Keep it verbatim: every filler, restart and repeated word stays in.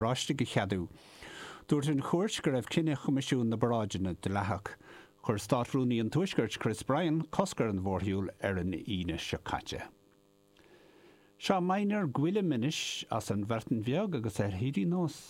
Oráistigh a cheadú. Dúirt an chúirt go raibh cinneadh Choimisiún na bParáideanna dleathach. Chuir Státrúnaí an Tuaiscirt Chris Bryan cosc ar an mhórshiúl ar an Aoine seo caite. Seo Meinir Gwilym anois as an Bhreatain Bheag agus ar hírí nós.